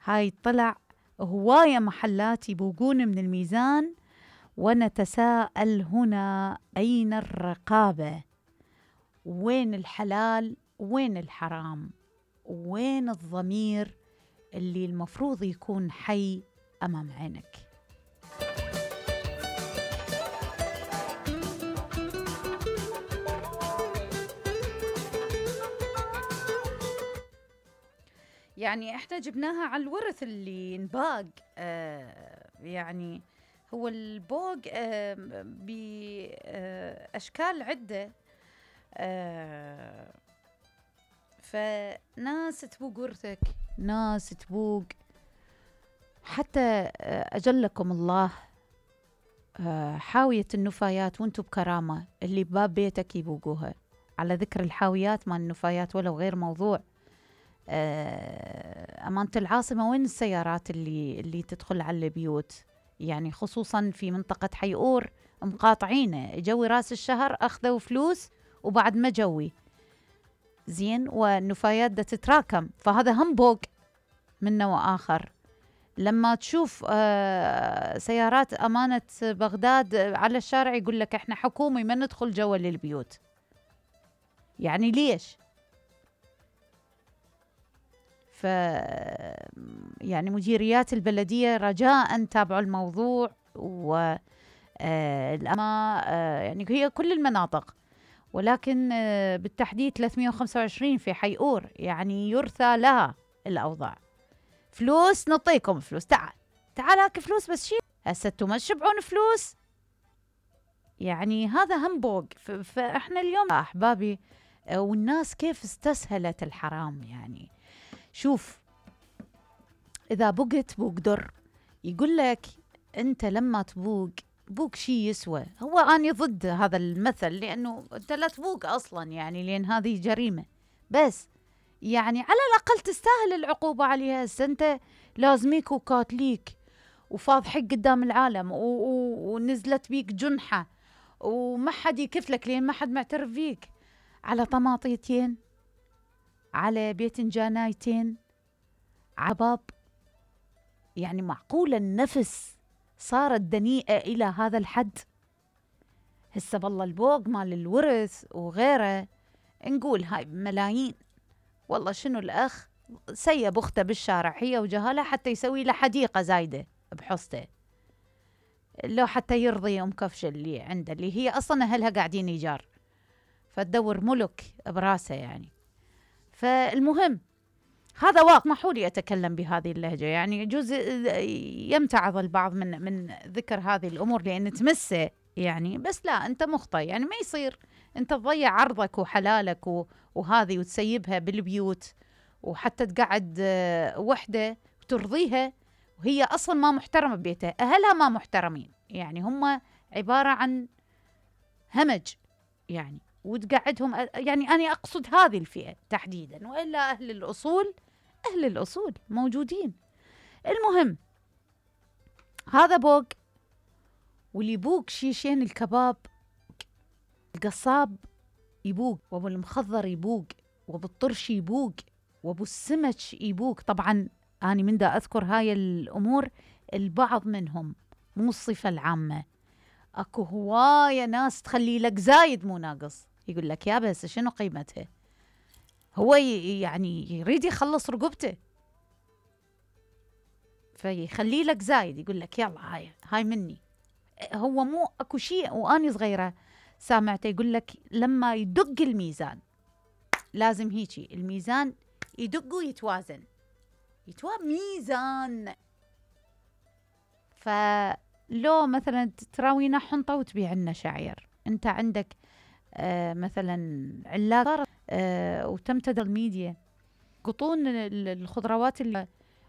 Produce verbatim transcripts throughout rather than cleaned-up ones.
هاي طلع هواية محلات يبوقون من الميزان، ونتساءل هنا أين الرقابة؟ وين الحلال؟ وين الحرام؟ وين الضمير اللي المفروض يكون حي أمام عينك؟ يعني احنا جبناها على الورث اللي انباق. آه يعني هو البوق آه بأشكال عدة. آه فناس تبوق ورثك، ناس تبوق حتى أجلكم الله آه حاوية النفايات وانتم بكرامة اللي بباب بيتك يبوقوها. على ذكر الحاويات مال النفايات ولو غير موضوع، أمانة العاصمة وين السيارات اللي اللي تدخل على البيوت؟ يعني خصوصا في منطقة حيئور مقاطعينه، جوي راس الشهر أخذوا فلوس وبعد ما جوي زين، والنفايات دا تتراكم، فهذا هم بوق من نوع آخر. لما تشوف سيارات أمانة بغداد على الشارع يقول لك احنا حكومي ما ندخل جوا للبيوت. يعني ليش؟ ف يعني مديريات البلدية رجاءً تابعوا الموضوع، و الأما يعني هي كل المناطق، ولكن بالتحديد ثلاثمئة وخمسة وعشرين في حيئور، يعني يرثى لها الأوضاع. فلوس نعطيكم فلوس، تعال تعال هاك فلوس بس شيل، هسه انتم ما تشبعون فلوس. يعني هذا هم بوق. فاحنا اليوم أحبابي، والناس كيف استسهلت الحرام. يعني شوف، إذا بقت بوق در، يقول لك أنت لما تبوق بوق شي يسوى. هو أنا ضد هذا المثل، لأنه أنت لا تبوق أصلا، يعني لأن هذه جريمة، بس يعني على الأقل تستاهل العقوبة عليها. أنت لازميك وكاتليك وفاض حق قدام العالم، ونزلت بيك جنحة وما حد يكفلك لأن ما حد معترف فيك، على طماطيتين، على بيتنجانايتين، عباب. يعني معقولة النفس صارت دنيئة إلى هذا الحد؟ هسه بالله البوق مال الورث وغيره نقول هاي ملايين. والله شنو الأخ سيب أخته بالشارع هي وجهالها حتى يسوي له حديقة زايدة بحصته، لو حتى يرضي أم كفشة اللي عنده، اللي هي أصلا أهلها قاعدين إيجار، فتدور ملك براسه. يعني فالمهم هذا واقع. اسمحوا لي أتكلم بهذه اللهجة، يعني يجوز يمتعض البعض من من ذكر هذه الأمور لأن تمسه، يعني بس لا، أنت مخطئ. يعني ما يصير أنت تضيع عرضك وحلالك وهذه وتسيبها بالبيوت، وحتى تقعد وحدة وترضيها وهي أصلا ما محترمة ببيتها، أهلها ما محترمين، يعني هم عبارة عن همج يعني، وتقعدهم. يعني أنا أقصد هذه الفئة تحديدا، وإلا أهل الأصول أهل الأصول موجودين. المهم هذا بوق. واللي يبوق شيشين الكباب، القصاب يبوق، وابو المخضر يبوق، وابو الطرش يبوق، وابو السمك يبوق. طبعا أنا من دا أذكر هاي الأمور، البعض منهم مو الصفة العامة. أكو هواية ناس تخلي لك زايد مو ناقص، يقول لك يا بس شنو قيمتها؟ هو يعني يريد يخلص رقبته، فيخلي لك زايد، يقول لك يلا هاي هاي مني. هو مو اكو شيء. واني صغيرة سامعته يقول لك لما يدق الميزان، لازم هيجي الميزان يدق ويتوازن، يتوازن ميزان. فلو مثلا تراوينا حنطة وتبيع لنا شعير، انت عندك آه مثلا علاقة آه وتمتد الميديا، قطون الخضروات اللي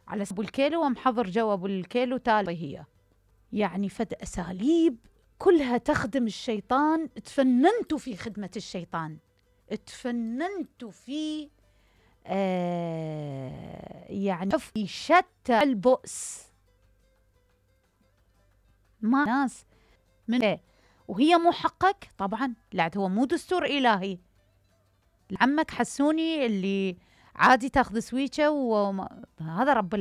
على ابو الكيلو ومحضر جو ابو الكيلو تالي، هي يعني فد اساليب كلها تخدم الشيطان. تفننتوا في خدمة الشيطان، تفننتوا في آه يعني في شتى البؤس. ما ناس من إيه؟ وهي مو حقك طبعا، لا هو مو دستور إلهي. عمك حسوني اللي عادي تاخذ سويتشة وهذا رب